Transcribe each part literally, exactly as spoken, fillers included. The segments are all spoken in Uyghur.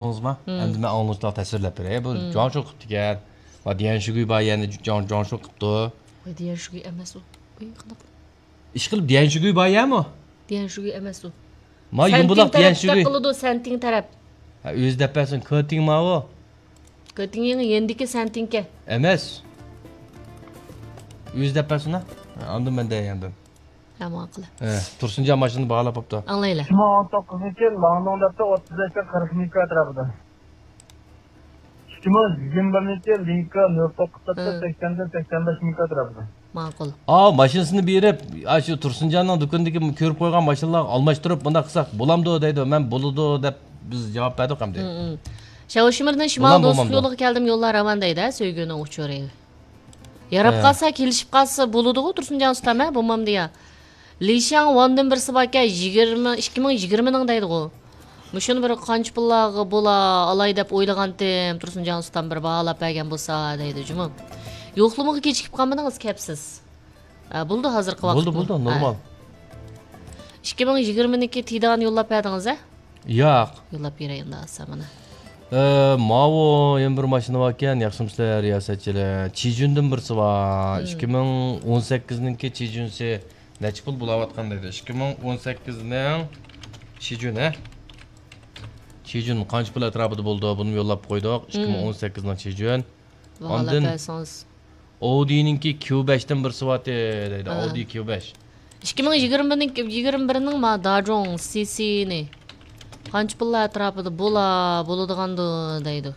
ئاڭلىدىڭىزما؟ مم. ئەمدى مەن ئاڭلىغۇچىلارغا تەسۋىرلەپ بېرەي. بۇ مم. جاڭشۇ قىپتىكەن. ۋە ديەنشىگۈي بار يەنە جاڭ-، جاڭشۇ قىپتۇ. ۋە ديەنشىگۈي ئەمەس ئۇ. ئۇي، قانداق؟ ئىشقىلىپ ديەنشىگۈي بار يەمۇ؟ ديەنشىگۈي ئەمەس ئۇ. ما سەنتىڭ يۇمبۇلاق تەرەپ ديەنشىگۈي. قىلىدۇ، سەنتىڭ تەرەپ. ھە، ئۆزى دەپ بەرسۇن، كېتىڭ ماۋۇ. كېتىڭ يېڭى يېنىدىكى سەنتىڭكەن. ئەمەس. ئۆزى دەپ بەرسۇن ھە. ئاندىن مەن دەيەندىم. ھە، ماڭا قىلە. ھە، تۇرسۇنجان ماشىنىنى باھالاپ بوپتۇ. ئاڭلايلى. ئىككى مىڭ ئون توققۇزىنچى يىل لاڭدۇڭ دەپتۇ، ئوتتۇز بەشتىن قىرىق مىڭ ئەتراپىدا. ئىككى مىڭ يىگىرمە بىرىنچى يىل لىنكا نۆل توققۇز دەپتۇ، ھە. سەكسەندىن سەكسەن بەش مىڭ ئەتراپىدا. ماقۇل. ئاۋۇ ماشىنىسىنى بېرىپ، ئاشۇ تۇرسۇنجاننىڭ دۇكىنىدىكى كۆرۈپ قويغان ماشىنىلارغا ئالماشتۇرۇپ، بۇنداق قىلساق بولامدۇ دەيدۇ. مەن بولىدۇ دەپ بىز جاۋاب بەردۇق ئەمدى. ھىم، ھىم. شياۋشىمىردىن شىمال بولامدۇ، دوستلۇق بولمامدۇ؟ يولىغا كەلدىم، يوللار راۋان دەيدۇ، ھە، سۆيگۈنىڭ ئۇچۇرى. ياراپ ھە. قالسا، كېلىشىپ قالسا بولىدىغۇ، تۇرسۇنجان ئۇستام، ھە، بولمامدۇ يا؟ لىشياڭ ۋاندىن بىرسى باركەن، يىگىرمە، ئىككى مىڭ يىگىرمىنىڭ دەيدىغۇ. مۇشۇنى بىر قانچە پۇللارغا بولا ئالاي دەپ ئويلىغانتىم، تۇرسۇنجان ئۇستام بىر باھالاپ بەرگەن بولسا دەيدۇ جۇمۇ. يوقلىمىغا كېچىكىپ قالمىدىڭىز، كەپسىز. ھە، بولدى ھازىرقى ۋاقىت. بولدى، بولدى، ھە. نورمال. ئىككى مىڭ يىگىرمىنىڭكى تىدان يوللاپ بەردىڭىز، ھە؟ ياق. يوللاپ بېرەي ئەمدى ئاسان مانا. ئە، ماۋۇ يەنە بىر ماشىنا باركەن، ياخشىمۇسىلەر رىياسەتچىلەر؟ چىجۈندىن بىرسى بار. مم. ئىككى مىڭ ئون سەككىزنىڭكى چىجۈنسى نەچچە پۇل بولاۋاتقان دەيدۇ. ئىككى مىڭ ئون سەككىزنىڭ چىجۈن، ھە؟ چىجۈن قانچە پۇل ئەتراپىدا بولىدۇ؟ بۇنىمۇ يوللاپ قويدۇق. مم. ئىككى مىڭ ئون سەككىزنىڭ چىجۈن. باھالاپ ئاندىن بەرسىڭىز. ئاۋدىنىڭكى كيۇ بەشتىن بىرسى بارتى دەيدۇ. ھە. ئاۋدى كيۇ بەش. ئىككى مىڭ يىگىرمىنىڭ، يىگىرمە بىرنىڭ ما داجوڭ سىسىنى قانچە پۇللار ئەتراپىدا بولا، بولىدىغاندۇ دەيدۇ.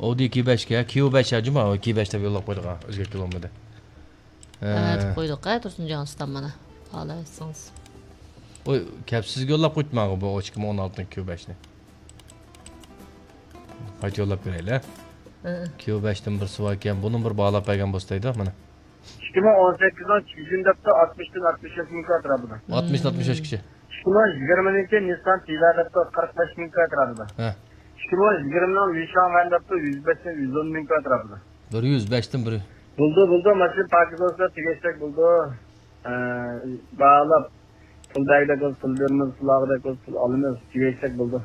ئاۋدى كيۇ بەشكە، كيۇ بەش ھە جۇما، كيۇ بەش دەپ يوللاپ قويدۇق ھە، ئۆزگەرتكىلى بولمىدى. ھە، ھە. دەپ قويدۇق ھە، تۇرسۇنجان ئۇستام مانا. باھالاپ بەرسىڭىز. ئۇ كەپ سىزگە يوللاپ قويدۇم مانا بۇ ئىككى مىڭ ئون ئالتىنچى كيۇ بەشنى. قايتا يوللاپ بېرەيلى. ھە. كيۇ بەشتىن بىرسى باركەن، بۇنى بىر باھالاپ بەرگەن بولسا دەيدۇ، مانا. ئىككى مىڭ ئون سەككىزنىڭ چىجۈن دەپتۇ، ئاتمىشتىن ئاتمىش بەش مىڭ ئەتراپىدا. ئاتمىشتىن ئاتمىش بەشكىچە. ئىككى مىڭ يىگىرمىنىڭكى نىسسان تىلا دەپتۇ، قىرىق بەش مىڭ ئەتراپىدا. ھە. ئىككى مىڭ يىگىرمىنىڭ لىشاڭ ۋەن دەپتۇ، يۈز بەشتىن يۈز ئون مىڭ ئەتراپىدا. بىر يۈز بەشتىن بىر. بولدى، بولدى، ماشىنا پاكىز بولسا تېگىشلىك بولدى. ئە، باھالاپ، پۇل بەرگۈدەك بولسا پۇل بېرىمىز، پۇل ئالغۇدەك بولسا پۇل ئالىمىز، تېگىشلىك بولدى.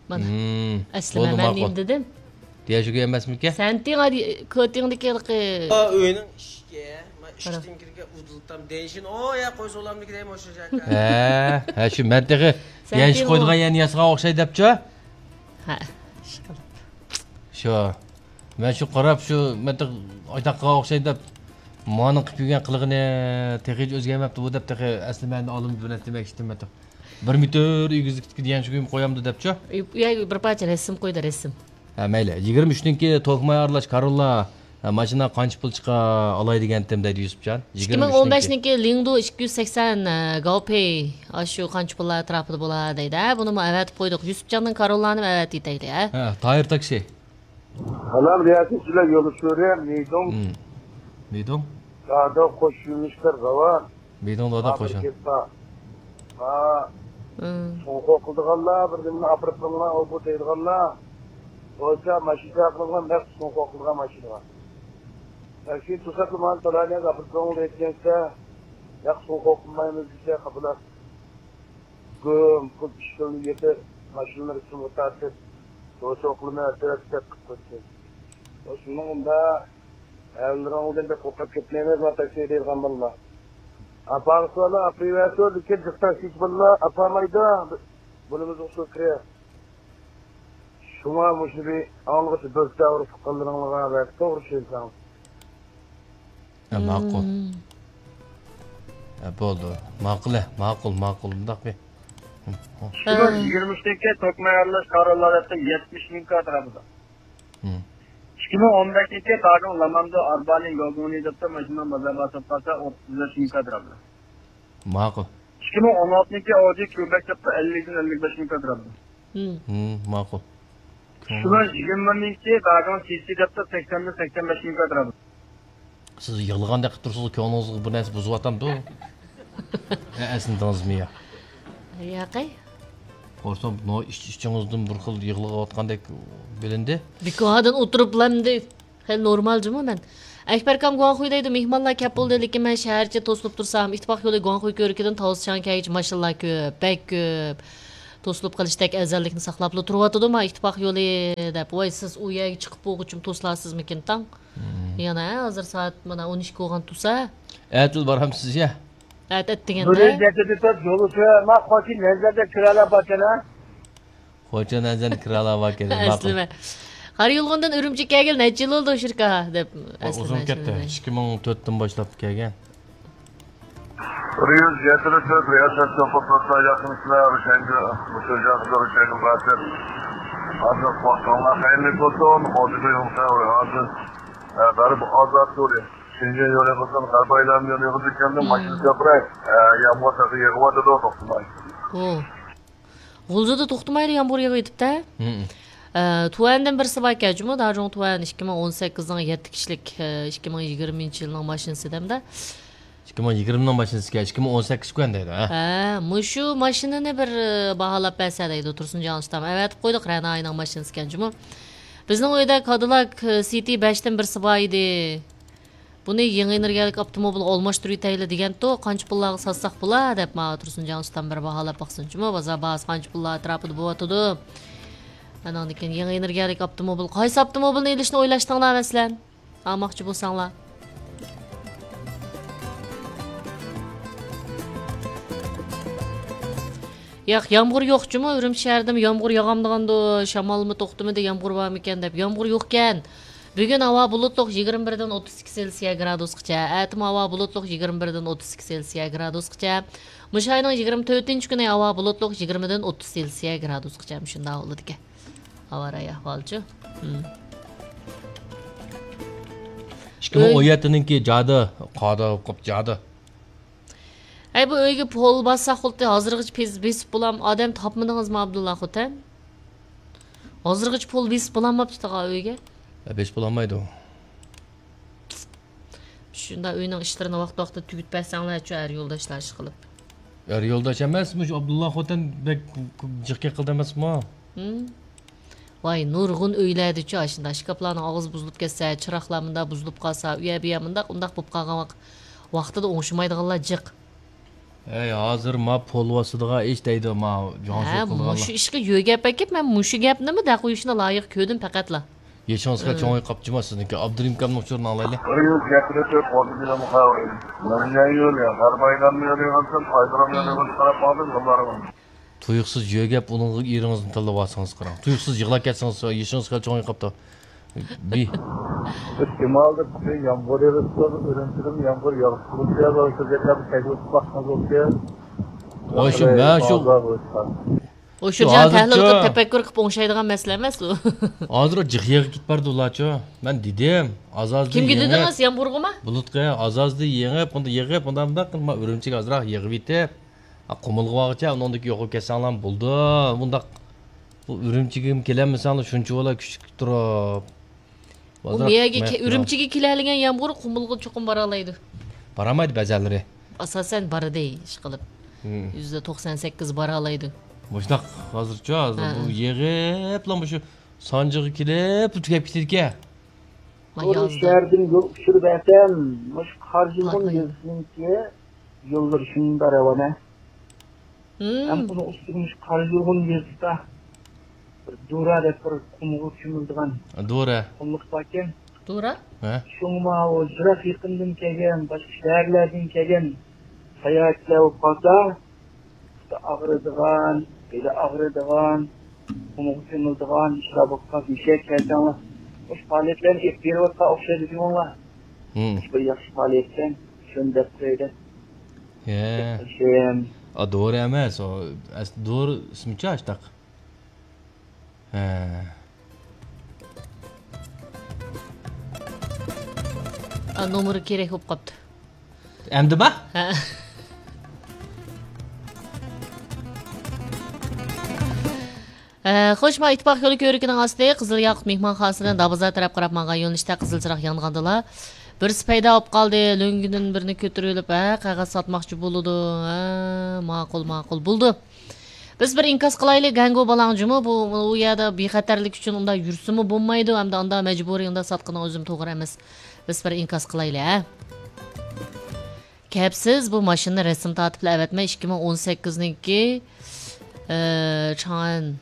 مانا. مم. ئەسلى بولدى، مەن ماقۇل. نېمە دېدىم؟ ديەنشىگۈي ئەمەسمىكەن؟ سەنتىڭ ھادى كۆتىڭدىكى ھېلىقى. ئا، ئۆينىڭ ئىشىكى، ما، قارا. ئىشىكتىن كىرگەن ئۇدۇلتام دېيىشىن، ئو، يا، قوي سولامدىكى دەيمەن، ئوشۇ شاكا. ھە، ھە، شۇ مەن تېخى سەنتىڭ ديەنشى ئۇ. قويىدىغان يەرنى ياسىغان ئوخشاي دەپچۇ؟ ھە، ئىشقىلىپ. شۇ. مەن شۇ قاراپ، شۇ مەتتە ئايتاققا ئوخشايدۇ دەپ، مانىڭ قىلىپ يۈرگەن قىلىقىنى تېخىچە ئۆزگەرمەپتۇ بۇ دەپ، تېخى ئەسلى مەن ئالىمنى بىر نەرسە دېمەكچىدىم مەتتە. بىر مېتىر ئېگىزلىكتىكى ديەنشىگۈيمۇ قويامدۇ دەپچۇ؟ يا، بىر پارچە رەسىم قويدى، رەسىم. ھە، مەيلى. يىگىرمە ئۈچنىڭكى توكماي ئارىلاش كاروللا، ھە، ماشىنا قانچە پۇل چىقا ئالاي دېگەنتىم دەيدۇ يۈسۈپجان. ئىككى مىڭ ئون بەشنىڭكى لىڭدۇ ئىككى يۈز سەكسەن، ھە، گاۋپېي، ئاشۇ قانچە پۇللار ئەتراپىدا بولا دەيدۇ. ھە، بۇنىمۇ ئەۋەتىپ قويدۇق. يۈسۈپجاننىڭ كاروللانىمۇ ئەۋەتىۋېتەيلى، ھە. ھە، تايىر تاكسى. سالام، رىياسەتچىلەر، يولدىشىم مېيدوڭ. ھىم. مېيدوڭ؟ دادا قوش يۆنىلىشلەر راۋان. مېيدوڭ دادا قوشۇن. ھا، ھىم. سۇڭخو قىلىدىغانلار، بىر نېمىنى ئاپىرىپ بېرىڭلار، ئۇ بۇ دەيدىغانلار. بولسا ماشىنا قىلىدىغان نەق سۇڭخو قىلىدىغان ماشىنىغا. ياكى توساتلا مانا تالانىيەگە ئاپىرىپ بېرىڭ دەيدىكەنسە، ياق سۇڭخو قىلمايمىز دېسە قاپىلار. گۈم، پۇل ئىشكىلىنى يېپىپ، ماشىنىلىرى سۇغا تارتىپ، توسۇقلىما ئەترەتكە قىلىپ قويدى. شۇنىڭ ئۇندا ھەللىرىڭدىن بەك قورقۇپ كەتمەيمىز، ما تاكسى دەيدىغان بالىلار. ئاپاڭسىلا ئاپىرىۋەرسۇن، لېكىن جىق تاكسىچى بالىلار ئاپارمايدۇ. بۇنىمىز ئۇسۇل كىرە. شۇڭا مۇشۇنى بىر ئاڭلىغۇچە بىر دەۋر تۇغقانلىرىڭلارغا ۋە توغرا چۈشەنسەڭ. ھە، ماقۇل. مم. ھە، بولدى. ماقۇل، ھە، ماقۇل، ماقۇل. مۇنداق بىر. ھە. ئىككى مىڭ يىگىرمە ئۈچتىكى توكماي ئارىلاش كاروللا دەپتۇ يەتمىش مىڭ كاتىرابىدا. مم. ئىككى مىڭ ئون بەشىنچى داگىڭ لامامدۇ ئاربالىن گوگۇڭنى دەپتۇ ماشىنا بازارغا ساتقانسا ئوتتۇز بەش مىڭ كاتىرابدا. ماقۇل. ئىككى مىڭ ئون ئالتىنچى ئاۋدى كيۇ بەش دەپتۇ ئەللىكتىن ئەللىك بەش مىڭ كاتىرابدا. مم. مم، ماقۇل. شۇنىڭ يىگىرمە بىرىنچى داگاڭ سىسى دەپتۇ سەكسەندىن سەكسەن بەش مىڭ كاتىرابدا. سىز يىغلىغاندەك قىلىپ تۇرسىڭىز، كۆڭلىڭىزگە بىر نەرسە بۇزۇۋاتامدۇ؟ ئە، ئەسلىدىڭىزمۇ يا؟ ياقەي. قورسام، نو-، ئىچ-، ئىچىڭىزدىن بىر خىل يىغلىۋاتقاندەك بىلىندى. بىكاردىن ئولتۇرۇپلا ئەمدى خېلى نورمال جۇمۇ مەن. ئەكبەركان گۇاڭخۇي دەيدۇ، مېھمانلار كەپ بولدى، لېكىن مەن شەھەرچە توسۇلۇپ تۇرسام، ئىتتىپاق يولى گۇاڭخۇي كۆۋرۈكىدىن تاۋزچياڭ كەلگۈچە ماشىنىلار كۆپ، بەك كۆپ. توسۇلۇپ قېلىشتەك ئەزەللىكنى ساقلاپلا تۇرۇۋاتىدۇ، ما ئىتتىپاق يولى دەپ. ۋاي، سىز ئۇ يەرگە چىقىپ بولغۇچىمۇ توسۇلارسىزمىكىن تاڭ؟ مم. يەنە ھازىر سائەت مانا ئون ئىككى بولغان تۇرسا. ئەتىلا بارامسىز يا؟ ئەتە ئەتىگەندە. بىر يۈز يەتتە تۆت يولى سۆيە، ما خوتۇن نەزەردە كىرەلەر باركەن ھە؟ خوتۇن نەزەردە كىرەلەر باركەن، ماقۇل. ئەسلىمە. قارا يۇلغۇندىن ئۈرۈمچىگە كەلگىلى نەچچە يىل بولدى، شىركا؟ دەپ. ئۇ ئەسلىمە، ئۇزۇن كەتتى. ئەسلىمە. ئىككى مىڭ تۆتتىن باشلاپ كەلگەن. بىر يۈز يەتتە تۆت رىياسەت سوپۇرلۇقتا ياقىنسىلەر رۇشەنگە، مۇشۇ جاغدا رۇشەنگە بارسىز. ھازىر ۋاقتىڭلار خەيرلىك بولسۇن. خوتۇن يولى ھازىر، ئە، غەرب ئازاد يولى. شېنجېن يولى بولسۇن، غەرب ئايلانما يولى يولىغا كەلدىم، ماشىنا كۆپرەك. ئە، يامغۇر تېخى يېغىۋاتىدۇ، توختىماي. ئۇ. غۇلجىدا توختىمايلا يامغۇر يېغىۋېتىپتۇ. ھىم. ئە، تۇەندىن بىرسى باركەن جۇمۇ، داجۇڭ تۇەن، ئىككى مىڭ ئون سەككىزنىڭ يەتتە كىشىلىك، ئە، ئىككى مىڭ يىگىرمىنچى يىلنىڭ ماشىنىسى دەمدە. ئىككى مىڭ يىگىرمىنىڭ ماشىنىسىكەن، ئىككى مىڭ ئون سەككىز كۈەن دەيدۇ، ھە؟ ھە، مۇشۇ ماشىنىنى بىر، ئە، باھالاپ بەرسە دەيدۇ، تۇرسۇنجان ئۇستام. ئەۋەتىپ قويدۇق، رەناينىڭ ماشىنىسىكەن جۇمۇ. بىزنىڭ ئۆيدە كادىلاك، ئە، سىتى بەشتىن بىرسى بار ئىدى. بۇنى يېڭى ئېنېرگىيەلىك ئاپتوموبىلغا ئالماشتۇرۇۋېتەيلى دېگەنتۇ، قانچە پۇللارغا ساتساق بولا دەپ، ماڭا تۇرسۇنجان ئۇستام بىر باھالاپ باقسۇن جۇمۇ، بازار باھاسى قانچە پۇللار ئەتراپىدا بولۇۋاتىدۇ. ئاناندىن كېيىن يېڭى ئېنېرگىيەلىك ئاپتوموبىل، قايسى ئاپتوموبىلنى ئېلىشنى ئويلاشتىڭلار مەسىلەن؟ ئالماقچى بولساڭلار. ياق، يامغۇر يوق جۇمۇ، ئۈرۈمچى شەھىرىدىمۇ يامغۇر ياغامدىغاندۇ، شامالمۇ توختىمىدى، يامغۇر بارمىكەن دەپ. يامغۇر يوقكەن. بۈگۈن ھاۋا بۇلۇتلۇق، يىگىرمە بىردىن ئوتتۇز ئىككى سېلسىيە گرادۇسقىچە. ئەتىمۇ ھاۋا بۇلۇتلۇق، يىگىرمە بىردىن ئوتتۇز ئىككى سېلسىيە گرادۇسقىچە. مۇشۇ ئاينىڭ يىگىرمە تۆتىنچى كۈنى ھاۋا بۇلۇتلۇق، يىگىرمىدىن ئوتتۇز سېلسىيە گرادۇسقىچە. مۇشۇنداق بولىدىكەن. ھاۋا رايى ئەھۋالىچۇ؟ ھىم. ئىككى مىڭ ئون يەتتىنىڭكى جادى، قادا قوپ جادى. ھەي، بۇ ئۆيگە پول باسساق بولدى، ھازىرغىچە بېس-، بېسىپ بولام، ئادەم تاپمىدىڭىزمۇ، ئابدۇللا خوتەن؟ ھازىرغىچە پول بېسىپ بولالماپتۇ تاغا ئۆيگە. ھە، بېسىپ بولالمايدۇ. شۇنداق ئۆينىڭ ئىشلىرىنى ۋاقتى-ۋاقتىدا تۈگىتىپ بەرسەڭلارچۇ، ئەر يولداشلار ئىشقىلىپ. ئەر يولداش ئەمەس، مۇشۇ ئابدۇللا خوتەن بەك جىق يىقىلدى ئەمەسمۇ؟ ھىم. ۋاي، نۇرغۇن ئۆيلەردىچۇ ئاشۇنداق ئىشكاپلارنىڭ ئاغزى بۇزۇلۇپ كەتسە، چىراغلار مۇنداق بۇزۇلۇپ قالسا، ئۇ يەر بۇ يەر مۇنداق، ئۇنداق بولۇپ قالغان ۋاق-، ۋاقتىدا ئوڭشىمايدىغانلار جىق. ئەي، ھازىر ما پول باسىدىغان ئىش دەيدۇ، ما جۇاڭشۇ ھە، قىلغانلار. مۇشۇ ئىشقا يۆگەپ ئەكىپ، مەن مۇشۇ گەپنىمۇ دەق قويۇشنى لايىق كۆردۈم پەقەتلا. يېشىڭىزغا ھىم. چوڭىيىپ قاپتىچۇما سىزنىڭكى؟ ئابدۇرېھىم ئاكامنىڭ ئۇچۇرىنى ئاڭلايلى. بىر يۈز يەتتە تۆت ئوتتۇز يىلىم خەۋىرى. مەرجان يولى، غەرب ئايلانما يولى بولسۇن، ئايدىرام يولى بولسۇن، قاراپ باقتىم يوللارغا. تۇيۇقسىز يۆگەپ ئۇنىڭغا ئېرىڭىزنى تىللىۋالسىڭىز قاراڭ. تۇيۇقسىز يىغلاپ كەتسىڭىز، يېشىڭىز خېلى چوڭىيىپ قاپتۇ. بى. بىز شىمالدا كۈچلۈك يامغۇر يېغىپ تۇرىدۇ، ئۈرۈمچىدىمۇ يامغۇر ياغىشى كېلىپ تۇرىدۇ، شۇ گەپلەرنى تەكلىپ قىلساڭىز بولدى. ۋاي شۇ، مەن شۇ بازار بولۇشقا. ئۇ شۇ شۇ جاينى تەھلىل ھازىرچۇ قىلىپ، تەپەككۇر قىلىپ ئوڭشايدىغان مەسىلە ئەمەس ئۇ. ھازىر ئۇ جىق يېغىپ كېتىپ بارىدۇ ئۇلارچۇ. مەن دېدىم، ئاز-ئازدىن كىمگە يېڭىپ، دېدىڭىز يامغۇرغىمۇ؟ بۇلۇتقا ئاز-ئازدىن يېڭىپ، ئۇنداق يېغىپ، ئۇنداق، ئۇنداق قىلما، ئۈرۈمچىگە ئازراق يېغىۋېتىپ، ھە، قۇمۇلغا بارغۇچە ئۇنىڭدىكى يوقاپ كەتسەڭلارمۇ بولىدۇ. مۇنداق، بۇ ئۈرۈمچىگىمۇ كېلەلمىسەڭلار شۇنچە بالا كۈچلۈك تۇرۇپ. بۇ بازار مەيەگە كە-، ئۈرۈمچىگە كېلەلىگەن يامغۇر قۇمۇلغا چوقۇم بارالايدۇ. بارالمايدۇ بەزەنلىرى. ئاساسەن بارىدۇ، ئىشقىلىپ. ھىم. يۈزدە توقسان سەككىز بارالايدۇ. مۇشۇنداق ھازىرچۇ، ھازىر ھە، بۇ ھە. يېغىپلا مۇشۇ سانجىغا كېلىپ تۈگەپ كېتىدىكەن. ما تور يازدا. شەھەردىن يول ئۇچۇرى بەرسەم، مۇشۇ قارا يۇلغۇن ھاي، ھاي. يېزىسىنىڭكى يوللىرى شۇنداق راۋان ھە. ھىم. ھەم ئۇنىڭ ئۈستىگە مۇشۇ قارا يۇلغۇن يېزىسىدا بىر دۇرا دەپ بىر قۇمغا چۆمۈلىدىغان دۇرا. قۇملۇق باركەن. دۇرا؟ ھە؟ شۇڭا ماۋۇ يىراق يېقىندىن كەلگەن، باشقا شەھەرلەردىن كەلگەن ساياھەتچىلەر بولۇپ قالسا، پۇتى ئاغرىدىغان، بېلى ئاغرىدىغان، قۇمغا چۆمۈلىدىغان ئىشلار بولۇپ قالسا، مۇشۇ يەرگە كەلسەڭلار، مۇشۇ پائالىيەتلەرنى ئېلىپ بېرىۋاتقان ئوخشايدۇ جۇمۇڭلار. ھىم. بىر ياخشى پائالىيەتكەن، شۇنى دەپ قويايلى. ھە. ئا، دورا ئەمەس، ئۇ ئەس-، دورا ئىسمىچۇ ئاشتاق. ھە. ئا، نومۇرى كېرەك بولۇپ قاپتۇ. ئەمدىما؟ ھە. ئە، خوش، ما ئىتتىپاق يولى كۆۋرۈكىنىڭ ئاستى، قىزىل ياقۇت مېھمانخانىسىدىن دابازار تەرەپ قاراپ ماڭغان يۆنىلىشتە قىزىل چىراغ يانغاندىلا، بىرسى پەيدا بولۇپ قالدى، لۆڭگىدىن بىرنى كۆتۈرۈۋېلىپ، ھە، قەغەز ساتماقچى بولىدۇ. ھە، ماقۇل، ماقۇل، بولىدۇ. بىز بىر ئىنكاس قىلايلى، گەڭگۇ بالاڭ جۇمۇ، بۇ، ئۇ يەردە بىخەتەرلىك ئۈچۈن ئۇنداق يۈرسىمۇ بولمايدۇ، ھەمدە ئاندا مەجبۇرىي ئۇنداق ساتقىنىڭ ئۆزىمۇ توغرا ئەمەس. بىز بىر ئىنكاس قىلايلى، ھە؟ كەپسىز، بۇ ماشىنىنى رەسىم تارتىپلا ئەۋەتمە، ئىككى مىڭ ئون سەككىزنىڭكى 呃，长安，